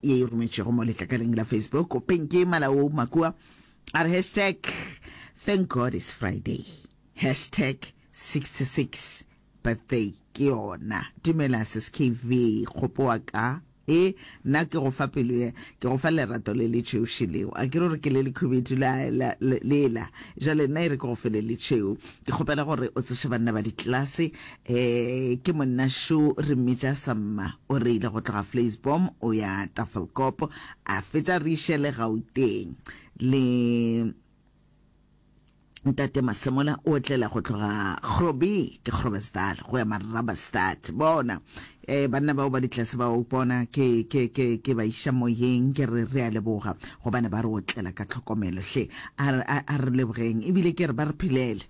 Ye e rometšwego mo letlakaleng la Facebook, Pinky Malao Makua a re hashtag thank God it's Friday, hashtag 66 birthday ke yona. Dumela sis KV, kgopo wa ka. E, nna ke go fa pelo ye, ke go fa lerato le le tšhweu šeleo. A ke re gore ke le lekhubedu la, la, lela. Jwale nna e re ke go fe le le tšhweu. Ke kgopela gore o tsoše banna ba ditlelase Eh, ke monna šo re mmitša Samma, o reile go tloga Vleisboom o ya Tafelkop, a fetša re iše le Gauteng. Le Ntate Masemola o otlela go tloga Grobie, ke Groblersdal, go ya Marabastad. Bona, eh, banna bao ba ditlase bao bona ke, ke, ke, ke ba iša moyeng, ke re re a leboga, gobane ba re otlela ka tlhokomelo. Hle, a, a, a re lebogeng, ebile ke re ba re phelele.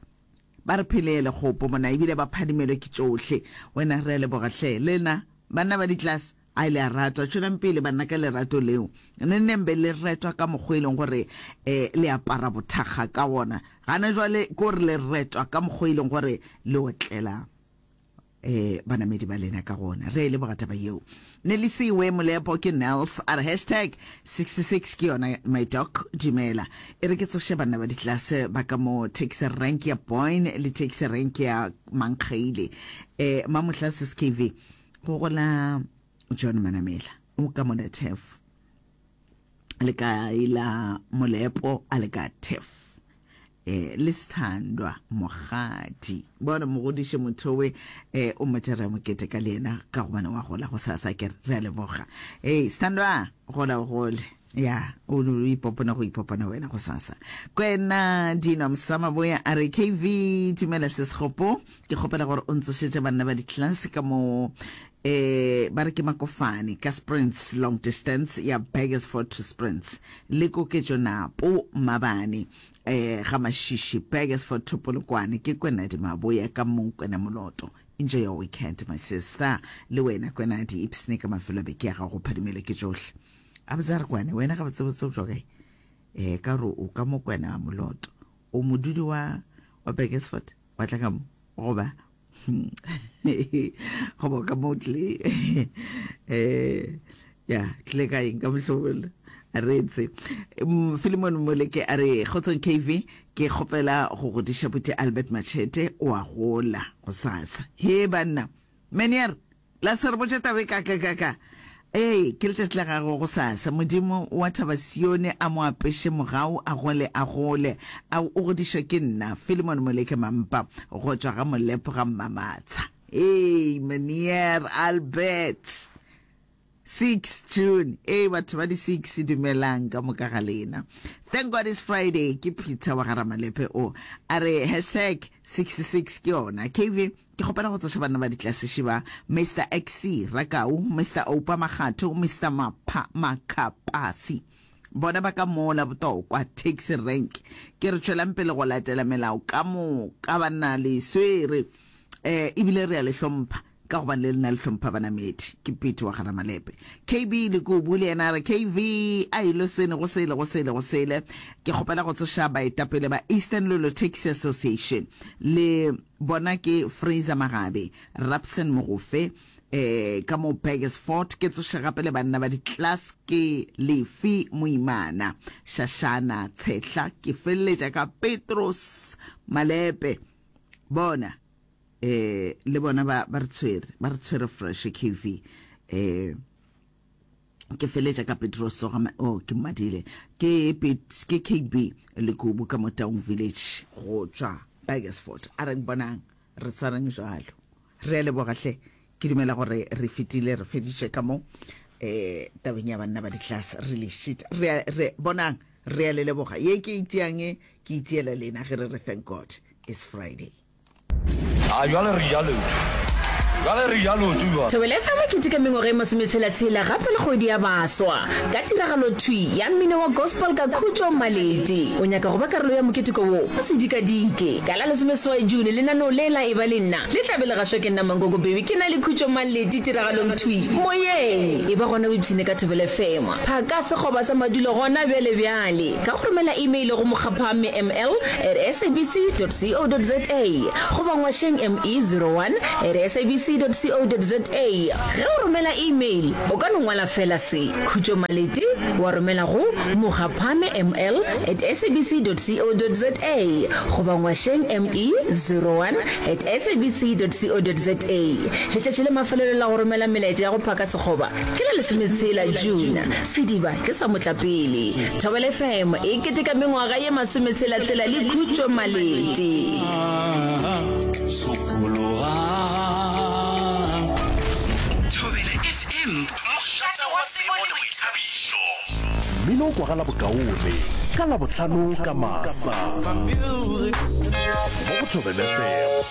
Ba re phelele, kgopo mona, ebile ba phadimelwe ke tšohle. Wena, re a leboga hle. Lena, banna ba ditlase, a le a ratwa. Tšwelang pele, banna, ka lerato leo. Nenneng be le retwa ka mokgwa e leng gore um le apara bothakga ka wona. Gana jwale ke gore le retwa ka mokgwa e leng gore le otlela. eh banamedi ba lena ka gona. Re a e leboga taba yeo. Nelisiwe Molepo ke Nels a re hashtag 66 ke yona my doc dumela. E re ke tsoše banna ba ditlase ba ka mo taxi rank ya Boyne le taxi rank ya Mankgeile. Eh mamohla sis KV go gola John Manamela o ka mona Tef le ka ila Molepo a le ka Tef. Eh, le Sthandwa Mokgadi. Bona mogodiše mothowe eh, o mmotša re a mokete ka le yena ka gobane wa gola go sasa ke re a leboga. Hey, Sthandwa, gola o gole. Ya, o o ipopona go ipopona wena go sasa. Kwena Dino Msamaboya a re KV dumela sesgopo ke kgopela gore o ntsošetše banna ba di-class ka mo eh ba re ke makofane ka sprints long distance ya Burgersfort to sprints le koketšo napo mabane eh ga Mashishi Burgersfort to Polokwane ke Kwenadi Maboya ka mo Kwena Moloto. Enjoy your weekend my sister. Le wena Kwenadi ipsne ka mafelo a beke ya gago phadimele ke tšohle. A botsa re kwane wena ga botsebotse o tšwa kae? Eh ka re o ka mo Kwena Moloto. O modudi wa wa Burgersfort wa tla ka mo goba goba ka mo tle eh ya tle ka eng ka mohlobolo a reetse mm, Philemon Moleke a re kgotsong KV ke kgopela go godiša buti Albert Machete o a gola go sasa he banna menier La se re botše taba e kakakaka. Ee, ke letšatši la gagwe gosasa. Modimo wa Thaba Sione a mo apeše mogau, a gole, a gole. A o godišwa ke nna, Philemon Moleke Mampa, go tšwa ga Molepo ga Mmamatsha. Ee, Meneer Albert. 6 June. Ee, batho ba di 6, dumelang ka moka ga lena. Thank God it's Friday. Ke Peter wa ga Ramalepe o. A re hashtag 66 ke yona. KV, Ke kgopela go tsoša banna ba ditlase ba, Mister XC Rakau, Mister Oupa Makgatho, Mister Mapha Makhapasi. Bona ba ka mola Botokwa taxi rank. Ke re tšwelang pele go latela melao ka moka banna le swere. Eh ebile re a le hlompha ka gobane le lena le hlompha banamedi. Ke Pete wa ga Ramalepe. KB Lekubu le yena a re KV a ilo sene go sele go sele go sele. Ke kgopela go tsoša baetapele ba Eastern Lolo Taxi Association le Bona ke Fraser Magabe, Rapson Mogofe, eh, ka mo Burgersfort. Ke tsoše gape le banna ba di-class ke Lefi Moimana, Shashana Tshehla, ke feleletša ka Petros Malepe. Bona, eh, le bona ba, ba re tshwere, ba re tshwere fresh KV. Eh, ke feletša ka Petros ga oh ke mmadile ke ke KB Lekubu ka mo Taung Village go tšwa Burgersfort a re bonang re tshwareng jwalo re a leboga hle ke dumela gore re fetile re feditše ka mo eh tabeng ya banna ba di-class re le shit re re bonang re a le leboga ye ke itiang ke itiela lena ge re re thank God it's Friday. A bjale re ja leoto. Bjale re ja leoto bjale. Thobela FM e keteka mengwaga e masometshela-tshela gape le kgwedi ya baswa ka tiragalo thwi ya mmino wa gospel ka Khutšo Maleti. O nyaka go ba karolo ya moketeko wo? O se dikadike. Ka la lesomeseswai June lenaneo le la Eba le Nna le tla be le gašwa ke nna Mankoko Baby ke na le Khutšo Maleti tiragalong thwi moyeng. Eba gona o ipshine ka Thobela FM. Phaka sekgoba sa madulo gona bjale bjale ka go romela email go mokgaphame ml at sabc dot co dot za goba ngwašeng me 01 at sabc. sabc.co.za. Ge o romela email, o ka no ngwala feela se, Khutšo Malete, wa romela go mogaphame ml at sabc.co.za goba ngwašeng me 01 at sabc.co.za. Letšatši la mafelelo la go romela melaetša ya go phaka sekgoba ke la lesometshela June. Sediba ke sa motlapele. Thobela FM e keteka mengwaga ye masometshela-tshela le Khutšo Malete. Thobela FM, mošate wa tsebo le boithabišo. Mmino o kwagala bokaone ka Labohlano ka masa mo go Thobela FM.